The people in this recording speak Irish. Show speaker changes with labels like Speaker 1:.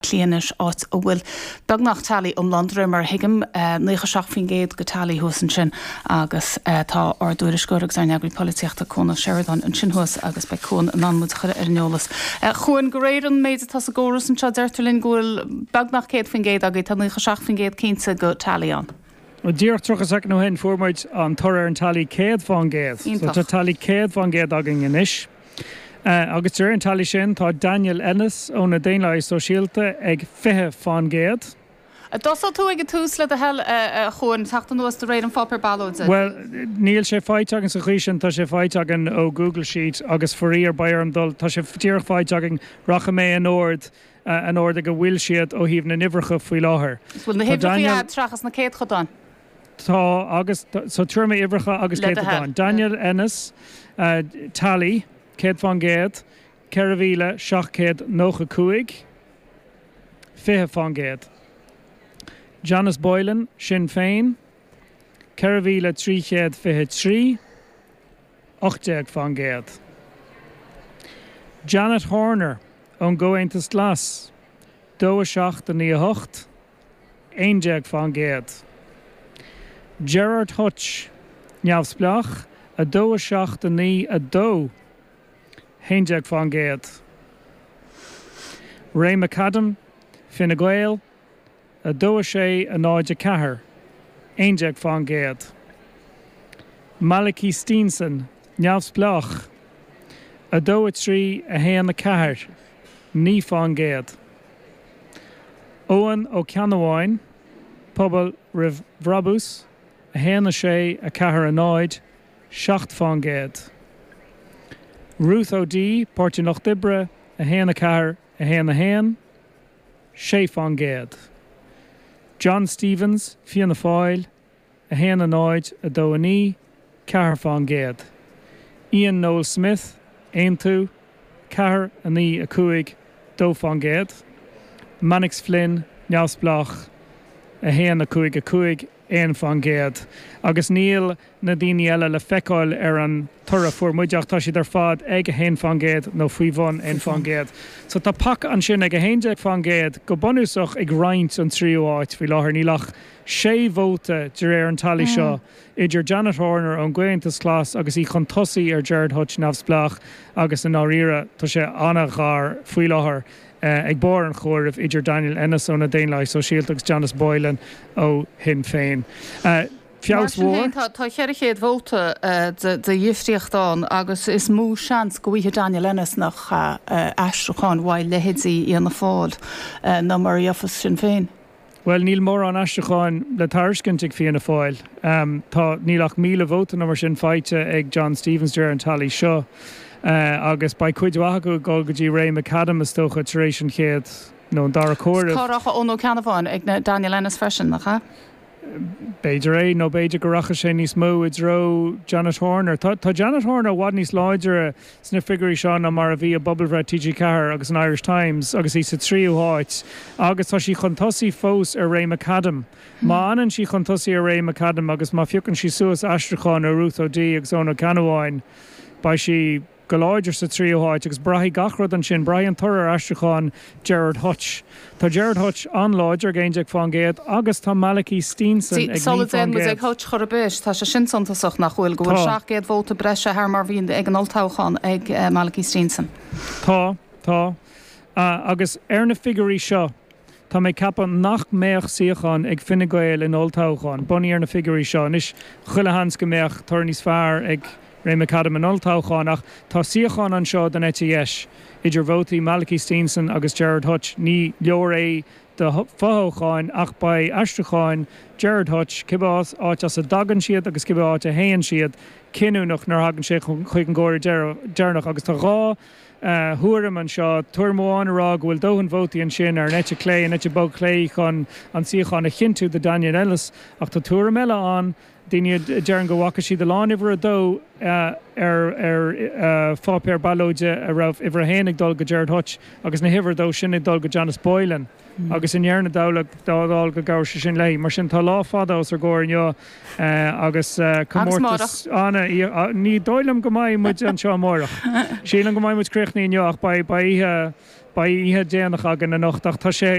Speaker 1: Cliath anois, áit a bhfuil beagnach tally iomlán, de réir mar a thuigim, 97% de tally thuas ansin agus tá ár dtuairisceoir agus ár n-eagraí polaitíochta, Cuan Ó Seireadáin, ansin thuas agus beidh Cuan in ann muid a chur ar an eolas. A Chuain, de réir an méid atá sa gcóras anseo, deirtear linn go bhfuil beagnach 100% agaibh, tá 97% cinnte de tally ann.
Speaker 2: Díreach 30 soicind ó shin fuair muid an toradh ar an tally 100%. So tá tally 100% againn anois. Agus de réir an tally sin, tá Daniel Ennis ó na Daonlathaithe Sóisialta ag 20%.
Speaker 1: D'fhoscail tú ag an tús le do thoil, a Chuain, teacht anuas de réir an pháipéir ballóide.
Speaker 2: Bhuel, níl sé faighte againn sa chaoi sin, tá sé faighte againn ó Google Sheet agus faraor beidh orm dul, tá sé díreach faighte againn, rachaidh mé in ord, an ord ag a bhfuil siad ó thaobh na n-uimhreacha faoi láthair.
Speaker 1: Bhfuil na huimhreacha agat seachas na céadchodáin?
Speaker 2: Tá agus, so tabharfaidh mé uimhreacha agus céatadáin. Daniel Ennis, Tally, 100%, 4,795, 20%. Janice Boylan, Sinn Féin, 4,323, 18%. Janet Horner ón gComhaontas Glas, 2, 7, 9, 8. 11%. Gerard Hutch, Neamhspleách, 2, 7, 9, 2, 11%. Ray McAdam, Fine Gael, 2, 6, 0, 4, 11%. Malachy Steenson, Neamhspleách, 2, 3, 1, 4, 9%. Eoghan Ó Ceannabháin, Pobal Roimh Bhrabús, 1, 6, 4, 0, 7%. Ruth O'Dea, Páirtí an Lucht Oibre, 1, 4, 1, 1, 6%. John Stephens, Fianna Fáil, 1, 0, 2, 9, 4%. Ian Noel Smith, Aontú, 4, 9, 5, 2%. Mannix Flynn, Neamhspleách, 1, 5, 5, 1%. Agus níl na daoine eile le feiceáil ar an toradh a fuair muid ach tá siad ar fad ag 1% nó faoi bhun 1%. So tá paca ansin ag 11% go bunúsach ag roinnt an tríú háit faoi láthair. Níl ach sé vóta de réir an tally seo idir Janet Horner ón gComhaontas Glas agus í chun tosaigh ar Gerard Hutch neamhspleách agus i ndáiríre tá sé an-ghar faoi láthair ag barr an chomhairimh idir Daniel Ennis ó na Daonlathaithe Sóisialta agus Janice Boylan ó Shinn Féin.
Speaker 1: Mar Feabhas sin féin, tá 400 vóta de dhifríocht ann agus is mó seans go bhfaighidh Daniel Ennis nach ea aistriúcháin uaidh leithéidí Fhianna Fáil ná mar a gheofas Sinn Féin.
Speaker 2: Bhuel, níl mórán aistriúcháin le tairiscint ag Fianna Fáil. Tá, níl ach 1,000 vóta nó mar sin faighte ag John Stephens de réir an tally seo agus beidh cuid mhaith acu ag dul go dtí Ray McAdam is dócha tar éis an chéad nó an dara comhaireamh.
Speaker 1: Cá rachadh Eoin Ó Ceannabháin ag Daniel Ennis freisin, nach ea?
Speaker 2: B'fhéidir é, nó b'fhéidir go rachadh sé níos mó i dtreo Janet Horner. Tá tá Janet Horner i bhfad níos láidre sna figiúirí seo ná mar a bhí i bpobalbhreith TG4 agus an Irish Times agus í sa tríú háit agus tá sí chun tosaigh fós ar Ray McAdam. Má fhanann sí chun tosaigh ar Ray McAdam agus má phiocann sí suas aistriúcháin ó Ruth O'Dea agus Eoin Ó Ceannabháin, beidh sí go láidir sa tríú háit agus braithfidh gach rud ansin, braithfidh an toradh ar aistriúchán Gerard Hutch. Tá Gerard Hutch an-láidir ag 11% agus tá Malachy Steenson ag 9%.
Speaker 1: Sula dtéann muid ag Hutch chor ar bith, tá sé sin suntasach, nach bhfuil, go bhfuil 700 vóta breise thar mar bhí ag an olltoghchán ag Malachy Steenson.
Speaker 2: Tá, tá. Agus ar na figiúirí seo, tá mé ag ceapadh nach mbeadh suíochán ag Fine Gael in olltoghchán, bunaithe ar na figiúirí seo. Anois, chuile sheans go mbeadh toradh níos fearr ag Ray McAdam in olltoghchán ach tá suíochán anseo don eite dheis, idir vótaí Malachy Steenson agus Gerard Hutch. Ní leor é do fothoghcháin ach beidh aistriúcháin Gerard Hutch, cibé áit as a dtagann siad agus cibé áit a théann siad, cinniúnach nuair a thagann sé chuig an gcomhaireamh deireanach agus tá 2 thuairim anseo, tuairim amháin a rá go bhfuil dóthain vótaí ansin ar an eite chlé, an eite bog chlé chun an suíochán a chinntiú do Daniel Ennis ach tá tuairim eile ann, daoine a deireann go bhfaca siad a lán uimhir a dó ar ar pháipéar ballóide a raibh uimhir a haon ag dul go Gerard Hutch agus na huimhir a dó sin ag dul go Janice Boylan agus i ndeireadh na dála go gcabhródh sé sin léi. Mar sin tá lá fada os ár gcomhair inniu agus comórtas ana ní dóigh liom go mbeidh muid anseo amárach. Sílim go mbeidh muid críochnaithe inniu ach beidh oíche. Beidh oíche déanach againn anocht ach tá sé.